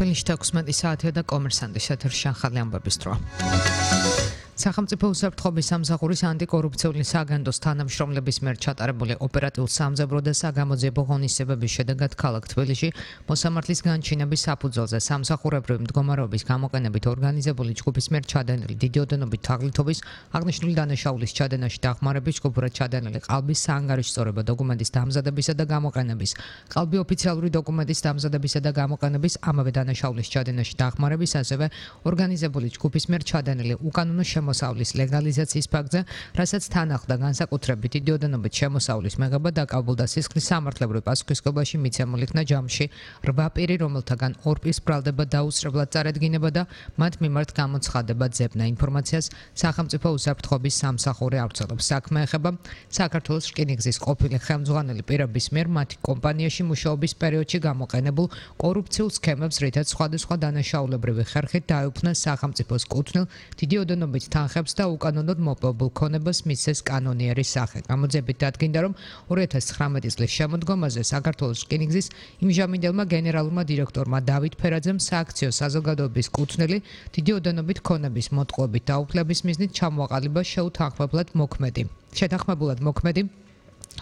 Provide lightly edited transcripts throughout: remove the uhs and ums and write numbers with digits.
თბილისში 16 საათია და კომერსანტის ეთერში ახალი ამბების დრო. სახელმწიფო უსაფრთხოების სამსახურის ანტიკორუფციული საგანდოს თანამშრომლების მიერ ჩატარებული ოპერატიულ სამძებრო და საგამოძიებო ღონისძიებების შედეგად ქალაქ თბილისში მოსამართლის განჩინების საფუძველზე სამსახურებრივი მდგომარეობის გამოყენებით ორგანიზებული ჯგუფის მიერ ჩადენილი დიდი ოდენობით თაღლითობის აღნიშნული დანაშაულის ჩადენაში დახმარების ჯგუფურად ჩადენილი ყალბის საანგარიშწორებო დოკუმენტის დამზადებისა და გამოყენების ყალბი ოფიციალური დოკუმენტის დამზადებისა და გამოყენების ამავე დანაშაულის ჩადენაში დახმარების ასევე ორგანიზებული ჯგუფის მიერ ჩადენილი უკანონო შემოსავლის ლეგალიზაციის ფაქტზე, რასაც თან ახლდა განსაკუთრებით დიდი ოდენობით შემოსავლის მიღება დაკავებულდა სისხლის სამართლებრივ პასუხისმგებლობაში მიცემულ იქნა ჯამში 8 პირი, რომელთაგან 2 პირს ბრალდება დაუსწრებლად წარედგინება და მათ მიმართ გამოცხადება ძებნა. ინფორმაციას სახელმწიფო უსაფრთხოების სამსახური ავრცელებს. საქმე ეხება საქართველოს რკინიგზის ყოფილი ხელმძღვანელი პირების მიერ მათი კომპანიაში მუშაობის პერიოდში გამოყენებულ კორუფციულ სქემებს, რითაც სხვადასხვა დანაშაულებრივი ხერხით დაეუფლა სახელმწიფოს კუთვნილ დიდი ოდენობით თანხებს და უკანონოდ მოპოვებულ ქონებას მისცეს კანონიერის სახე. გამოძიებით დადგინდა, რომ 2019 წლის შემოდგომაზე საქართველოს რკინიგზის იმჟამინდელმა გენერალურმა დირექტორმა დავით ფერაძემ სააქციო საზოგადოების კუთვნილი დიდი ოდენობით ქონების მოტყუებით დაუფლების მიზნით ჩამოაყალიბა შეთანხმებულად მოქმედი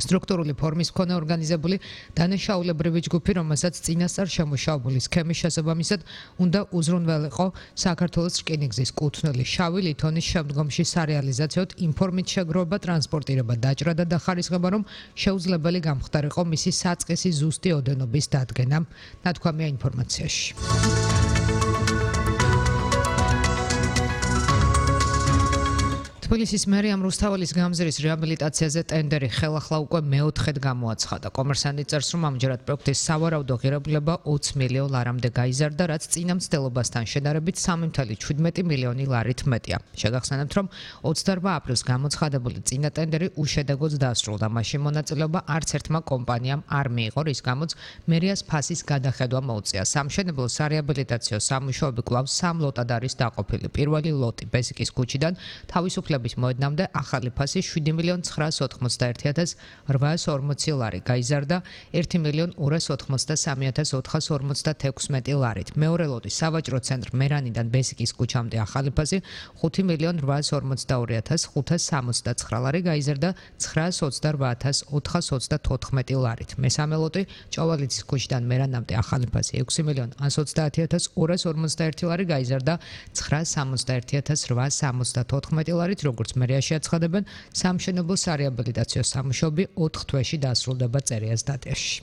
სტრუქტურული ფორმის მქონე ორგანიზებული დანაშაულებრივი ჯგუფი, რომელსაც წინასწარ შემუშავებული სქემის შესაბამისად უნდა უზრუნველყო საქართველოს რკინიგზის კუთვნილი შავი ლითონის შემდგომში სარეალიზაციოდ ინფორმით შეგროვება, ტრანსპორტირება, დაჭრა და დახარისხება, რომ შეუძლებელი გამხდარიყო მისი საწყისი ზუსტი ოდენობის დადგენა. ნათქვამია ინფორმაციაში. თბილისის მერიამ რუსთაველის გამზირის რეაბილიტაციაზე ტენდერი ხელახლა უკვე მეოთხედ გამოაცხადა. კომერსანტი წერს, რომ ამჯერად პროექტის სავარაუდო ღირებულება 20 მილიონ ლარამდე გაიზარდა, რაც წინა მცდელობასთან შედარებით 3,17 მილიონი ლარით მეტია. შეგახსენებთ, რომ 28 აპრილს გამოცხადებული წინა ტენდერი უშედეგოდ დასრულდა. მაშინ მონაწილეობა არც ერთმა კომპანიამ არ მიიღო, რის გამოც მერიას ფასის გადახედვა მოუწია. სამშენებლო სარეაბილიტაციო სამუშაოები კვლავ 3 ლოტად არის დაყოფილი. პირველი ლოტი ბესიკის ქუჩიდან თავისუფლების მოედნამდე ახალი ფასი 7,991,840 ლარი გაიზარდა 1,283,456 ლარით. მეორე ლოტი სავაჭრო ცენტრ მერანიდან ბესიკის ქუჩამდე ახალი ფასი 5,882,569 ლარი გაიზარდა 928,424 ლარით. მესამე ლოტი ჭოვალიცის ქუჩიდან მერანამდე ახალი ფასი 6,130,251 ლარი გაიზარდა 961,874 ლარით. როგორც მერიაში აცხადებენ, სამშენებლო სარეაბილიტაციო სამუშაოები 4 თვეში დასრულდება წერიას დატაში.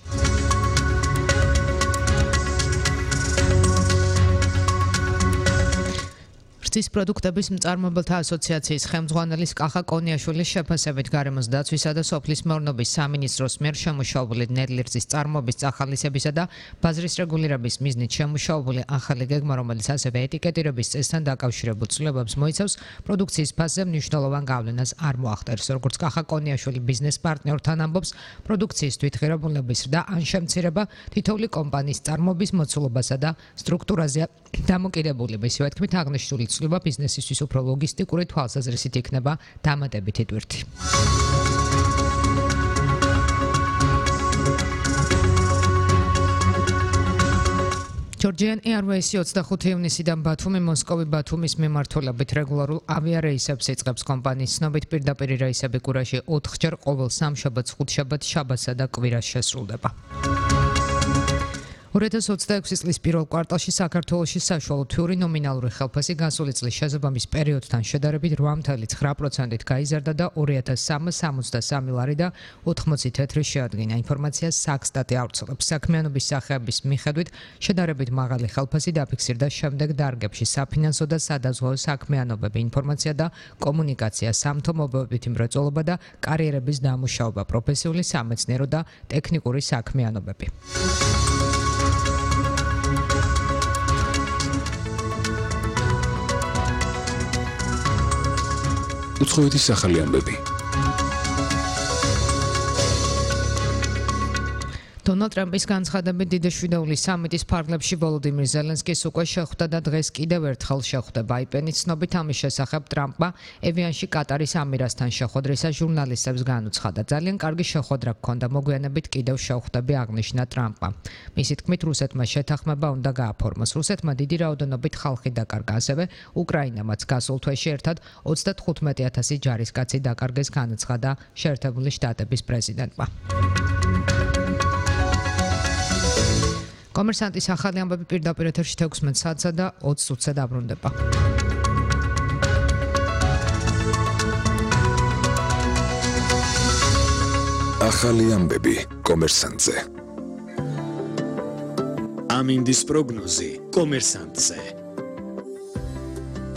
რძის პროდუქტების მწარმოებელთა ასოციაციის ხელმძღვანელის კახა კონიაშვილის შეფასებით გარემოს დაცვისა და სოფლის მეურნეობის სამინისტროს მიერ შემუშავებული ნედლი რძის წარმოების წახალისებისა და ბაზრის რეგულირების მიზნით შემუშავებული ახალი გეგმა, რომელიც ასევე ეტიკეტირების წესთან დაკავშირებულ ცვლილებებს მოიცავს, პროდუქციის ფასზე მნიშვნელოვან გავლენას არ მოახდენს. როგორც კახა კონიაშვილი ბიზნეს პარტნიორთან ამბობს, პროდუქციის თვითღირებულების და ან შემცირება თითოეული კომპანიის წარმოების მოცულობასა და სტრუქტურაზე დამოკიდებული. ისევე თქმით, აღნიშნული ცვლილება ბიზნესისთვის უფრო ლოგისტიკური თვალსაზრისით იქნება დამატებითი ტვირთი. Georgian Airways 25 ივნისიდან ბათუმი მოსკოვი-ბათუმის მიმართულებით რეგულარულ ავიარეისებს იწყებს. კომპანიის ცნობით, პირდაპირ რეისები კურაში 4-ჯერ ყოველ სამშაბათს, ხუთშაბათს, შაბათსა და კვირას შესრულდება. 2026 წლის პირველ კვარტალში საქართველოში საშუალო თვიური ნომინალური ხელფასი გასული წლის შესაბამის პერიოდთან შედარებით 8,9%-ით გაიზარდა და 2,363 ლარი და 80 თეთრი შეადგინა. ინფორმაციას საქსტატი ავრცელებს. საქმიანობის სახეების მიხედვით შედარებით მაღალი ხელფასი დაფიქსირდა შემდეგ დარგებში: საფინანსო და სადაზღვევო საქმიანობები, ინფორმაცია და კომუნიკაცია, სამთო-მობილობითი მრეწველობა და კარიერების დამუშავება, პროფესიული, სამეცნიერო და ტექნიკური საქმიანობები. უცხოეთის სახელი ამბები. დონალდ ტრამპის განცხადებით დიდი შვიდეულის სამიტის ფარგლებში ვოლოდიმირ ზელენსკის უკვე შეხვდა და დღეს კიდევ ერთხელ შეხვდება. აიპენის ცნობით ამის შესახებ ტრამპმა ევიანში კატარის ამირასთან შეხვედრისას ჟურნალისტებს განუცხადა. ძალიან კარგი შეხვედრა გქონდა, მოგვიანებით კიდევ შევხვდები, აღნიშნა ტრამპმა. მისი თქმით, რუსეთმა შეთანხმება უნდა გააფორმოს. რუსეთმა დიდი რაოდენობით ხალხი დაკარგა, ასევე უკრაინამაც გასულ თვეში ერთად 35,000 ჯარისკაცი დაკარგეს, განაცხადა შეერთებული შტატების პრეზიდენტმა. კომერსანტის ახალი ამბები პირდაპირ ეთერში 16 საათსა და 20 წუთზე დაბრუნდება. ახალი ამბები კომერსანტზე. ამინდის პროგნოზი კომერსანტზე.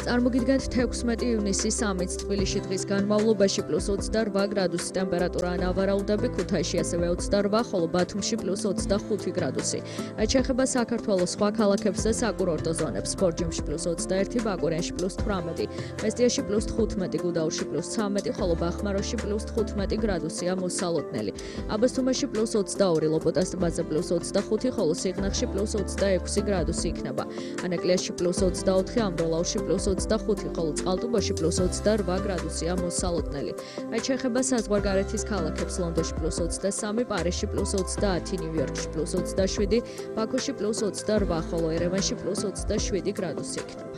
წარმოგიდგენთ 16 ივნისის სამიტს თბილისში დღის განმავლობაში +28 გრადუსი ტემპერატურა ანავარაუდები, ქუთაისში ასევე 28, ხოლო ბათუმში +25 გრადუსი. რაც შეეხება საქართველოს სხვა ქალაქებს და საკურორტო ზონებს, ბორჯომში +21, ბაკურიანში +18, მესტიაში +15, გუდაურში +13, ხოლო ბახმაროში +15 გრადუსია მოსალოდნელი. აბასთუმანში +22, ლოპოტას ტბაზე +25, ხოლო სიღნაღში +26 გრადუსი იქნება. ანაკლიაში +24, ამბროლაურში +25, ხოლო წყალტუბოში +28 გრადუსია მოსალოდნელი. რაც შეეხება საზღვარგარეთის ქალაქებს, ლონდონში +23, პარიზში +30, ნიუ-იორკში +27, ბაქოში +28, ხოლო ერევანში +27 გრადუსი იქნება.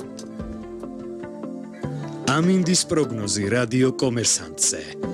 ამინდის პროგნოზი რადიო კომერსანტზე.